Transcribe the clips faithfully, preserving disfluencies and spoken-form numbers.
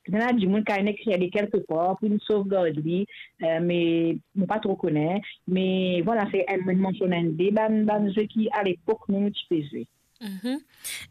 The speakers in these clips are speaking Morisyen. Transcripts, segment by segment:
Ena dimoun ki ena de kelke par pou nou sovgard li, eh, me mo pa tro kone. Me vwala, se enn, mo mansionn enn de bann, bann zwe ki alepok nou, nou ti pe zwe. Mhm.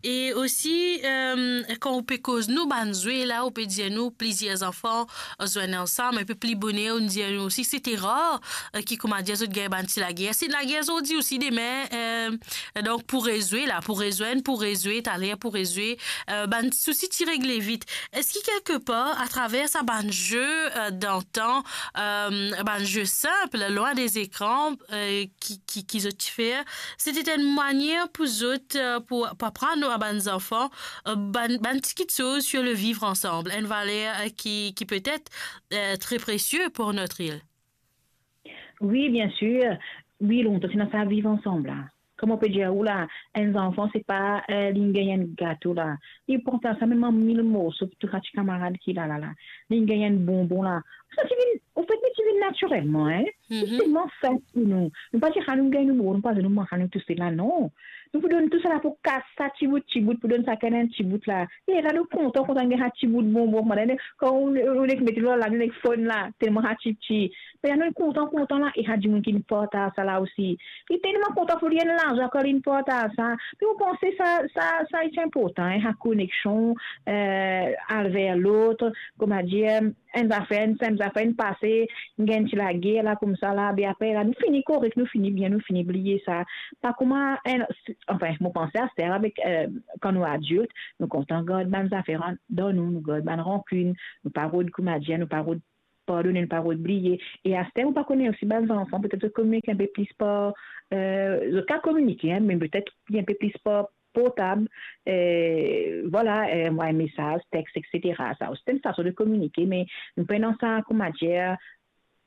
E osi, eh, kan ou pe koz nou bann zwe la, ou pe dir nou plizier zanfan zwenn ansam, enpe pli boner, ou dir nou osi, se te rar, eh, ki, koumadir, zot gagn bann ti lager. Se lager zordi osi, demin, eh, donk pou rezwe la, pou rezwenn, pou rezwe, taler pou rezwe, eh, bann sousi ti regle vit. Eski kelke par, atraver sa bann ze, eh, dantan, eh, bann ze sinp, lwin de zekran, eh, ki, ki, ki zot ti fer, se ti enn manier pou zot, eh, pou, pou aprann nou a bann zanfan, eh, bann, bann ti kiksoz sur le vivre ensemble, enn valer, eh, ki, ki petet, eh, tre presie pou notre île. Wi, bien sir. Wi, lontan ti ena sa viv ansam la. Kouma mo pe dir ou la, enn zanfan, se pa, eh, li gagn enn gato la. Li partaz sa mem an mil morso pou tou sa ti kamarad ki la, la, la. Li gagn enn bonbon la. Sa ti vinn, anfet, li ti vinn natirelman, hein. Mhm. Li telman sinp pou nou. Nou pa dir, "Ah, nou gagn nou bonbon, nou pa, nou manz nou tousel la", non. Nou pou donn tou sa la pou kas sa ti bout, ti bout, pou donn sakenn enn ti bout la. E la, nou kontan, kontan gagn sa ti bout bonbon, kouma, kan ou, ou nek met li lor la, nou nek fonn la, telman sa ti piti. Me la, nou kontan, kontan la, e sa dimoun ki partaz sa la osi. Li telman kontan pou li, enn larzan kan li partaz sa. Me mo panse sa, sa, sa, li ti inportan, hein, sa koneksion, eh, al ver lot, koumadir, enn zafer, enn sinp zafer, enn pase, gagn ti lager la, koumsa la, be apre la, nou fini korek, nou fini bien, nou fini bliye sa. Pa kouma enn, anfin, mo panse aster avek, eh, kan nou adilt, nou kontan gard bann zafer an, dan nou, nou gard bann rankinn, nou pa rod, koumadir, nou pa rod pardone, nou pa rod bliye. E aster, ou pa kone osi, bann zanfan, petet zot kominike inpe plis par, eh, zot kapav kominike, hein, me petet inpe plis par portab, eh, vwala, eh, envoy mesaz, text, et cetera. Sa osi, se enn fason de kominike, me nou pena sa, koumadir,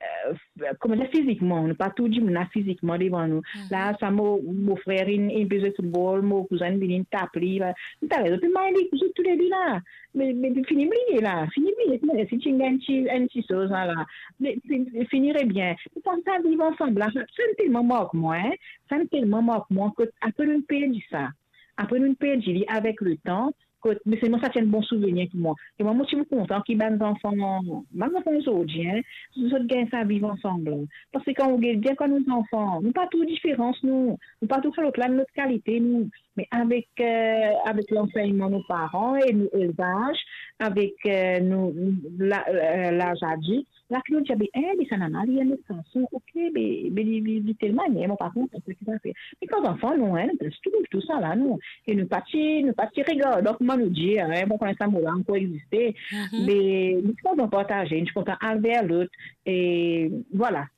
eh, koumadir, fizikman, nou pa tou dimoun la fizikman devan nou. Mhm. La, sa mo, mo frer, li, li pe zwe foutbol, mo kouzin vini, li tap li, la. Talor, zot pe may li, zot toule de la. Me, me fini bliye la, fini bliye, koumadir, si ti gagn ti, enn ti soz la, la. Me, fi-, fini re bien. Mo panse sa viv ansam la, sa, sa telman mark mwa, hein. Sa telman mark mwa, kot apre nou perdi sa. Apre nou perdi li avek letan, kot, me selman sa ti enn bon souvenir pou mwa. E mwa, mo ti kontan ki bann zanfan, bann zanfan zordi, hein, zot gagn sa viv ansam la. Parski kan ou get bien kan nou zanfan, nou pa trouv diferans, nou. Nou pa trouv sa lot la, nou lot kalite, nou. Me avek, eh, avek lansegnman nou paran e nou elvaz, avek, eh, nou, la, eh, laz adilt, la ki nou dir, be, eh, be sa nana li enn lot fason, ok, be, be li, li, li tel manier, mo pa konpran seki sa fer. Me kan zanfan nou, hein, nou plis trouv tou sa la, nou. E nou pa ti, nou pa ti regard, donk, kouma nou dir, hein, bon, kouma sa mo la ankor existe, mhm, me nou ti kontan partaze, nou ti kontan al ver lot, e vwala.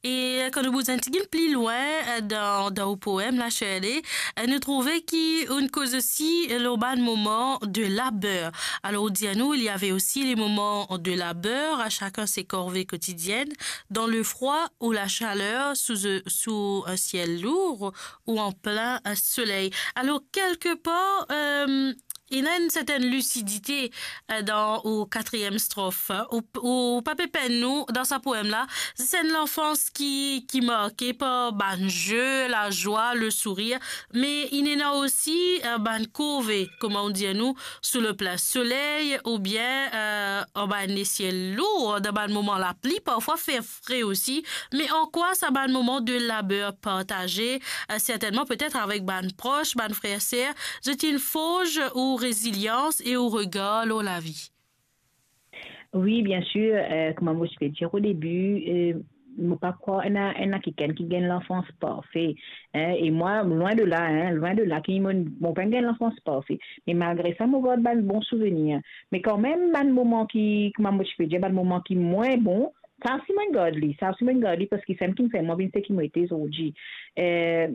E kan nou bouz enn tigit pli lwin, eh, dan, dan ou poem la, Shirley, eh, nou trouve ki ou'nn koz osi lor bann moman de labeur. Alors, ou dir nou, il y avait aussi les moments de labeur, à chacun ses corvées quotidiennes, dans le froid ou la chaleur, sous, sous un ciel lourd ou en plein, eh, soleil. Alors, quelque part, eh, ena enn sertenn lisidite, eh, dan ou katriem strof. Ou, ou pa pe penn nou dan sa poem la, zis enn lanfans ki, ki marke par bann ze, lazwa, le sourir, me inn ena osi, eh, bann korve, kouma ou dir nou, sous le plein soleil, oubien, eh, anba enn lesiel lour, dan bann moman lapli, parfwa fer fre osi, me an kwa sa bann moman de labeur partaze, eh, sertennman petet avek bann pros, bann frer, ser, zot inn forz ou rezilians e ou regar lor lavi? Wi, bien sir, eh, kouma mo ti pe dir o debi, eh, mo pa krwar ena, ena kikenn ki gagn lanfans parfe, hein, e mwa, lwin de la, hein, lwin de la ki mo, mo pa gagn lanfans parfe. Me malgre sa, mo gard bann bon souvenir. Me kanmem, bann moman ki, kouma mo ti pe dir, bann moman ki mwin bon, sa osi mo gard li, sa osi mo gard li, parski sa ki fer mwa vinn seki mo ete zordi. Eh,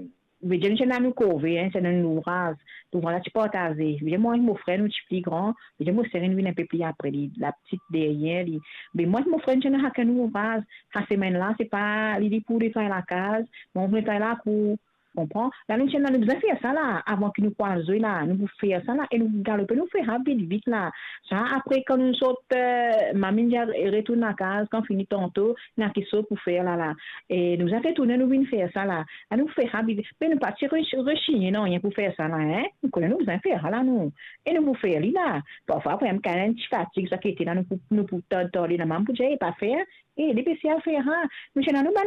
vedir, nou ti ena nou korve, hein, ti ena nou louvraz. Louvraz la ti partaze. Vedir, mwa ek mo frer, nou ti pli gran. Vedir, mo ser inn vinn inpe pli apre li, lapti deryer li. Me mwa ek mo frer, nou ti ena sakenn louvraz. Sa semenn la, se pa li, li pou netway lakaz, mwa mo pou netway lakour. Konpran? La nou ti ena, nou bizin fer sa la, avan ki nou pou al zwe la, nou pou fer sa la, e nou galope, nou fer sa vit, vit la. Sa, apre, kan nou sort, eh, mami dir retourn lakaz, kan fini tanto, ena kisoz pou fer la, la. E nou bizin retourne, nou vinn fer sa la. La nou fer sa vit, me nou pa ti re-, resigne nanye pou fer sa la, en. Nou kone nou bizin fer sa la, nou. E nou pou fer li la. Parfwa, pou enn, kan enn ti fatig, sa ki ete la, nou pou, nou pou tande, tande, la mama pou dir, "E, pa fer." E, li pe sel fer sa. Nou ti ena nou bann